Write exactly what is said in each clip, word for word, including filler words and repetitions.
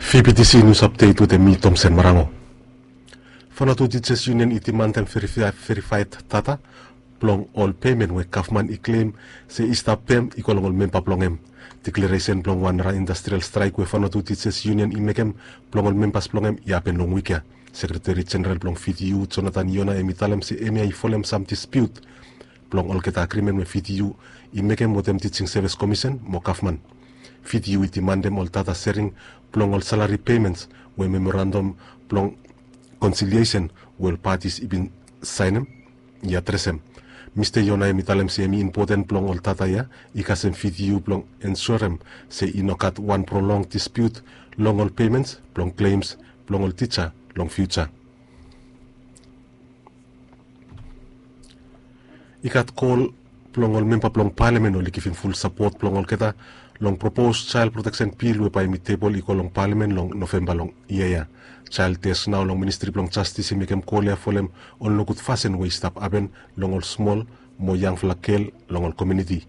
Fibitisi nius apdet wetem mi, Tomsen Marango. Fanatu Tijas Yunion i dimandem verifaed data blong ol pemen we gavman i klem se i stap pem i go long ol memba blong hem. Deklaresen blong wan nara indastrial straek we Fanatu Tijas Yunion i mekem blong ol membas blong hem i hapen long wik ya. Sekreteri Jeneral blong V T U, Jonathan Yona, hem i talem se hemia i folem sam dispiut blong olgeta agrimen we V T U i mekem wetem Teaching Service Commission mo gavman. V T U i dimandem ol data sharing blong ol salary payments we memorandum blong conciliation we ol parties i bin saenem i adresem. Mista Yona hem i talem se hem i impoten blong ol data ya i kasem V T U blong ensurem se i no gat wan prolong dispiut long ol payments blong claims blong ol tija long future. I gat kol blong ol memba blong palamen oli givim ful sapot blong olgeta long propos Child Protection Bill we bae hem i tebol i go long palamen long Novemba long yia ya. Child Desk nao long Ministri blong Jastis i mekem kol ya folem ol nogud fasin we i stap hapen long ol smol mo yangfala gel long ol komuniti.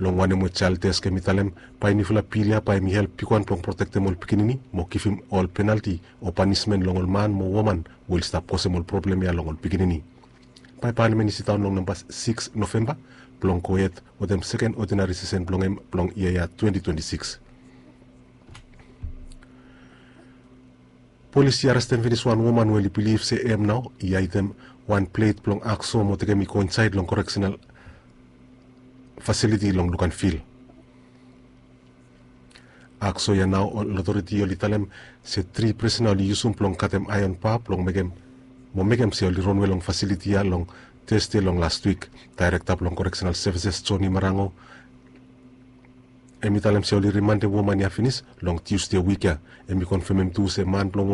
Long wanem we Child Desk hem i talem, bae nifala bil ya bae hem i help bigwan blong protektem ol pikinini mo givim ol penalti o panismen long ol man mo woman we oli stap kosem ol problem ya long ol pikinini. Bae palamen i sidaon long namba sikis Novemba blong gohed wetem seken odinari sesen blong hem blong yia ya twenti twenti sikis. Polis i arestem finis wan woman we oli bilif se hem nao i haedem wan plet blong akso mo tekem i go insaed long koreksenal fasiliti long Luganville. Akso ya nao ol otoriti oli talem se tri prisona oli yusum blong katem aeon ba blong mekem mo mekem se oli ronwe long fasiliti ya long Tasde long lastwik. Daerekta blong Koreksenal Sevises, Johnny Marango, hem i talem se oli rimandem woman ya finis long Tiusde wik ya. Hem i konfemem tu se man blong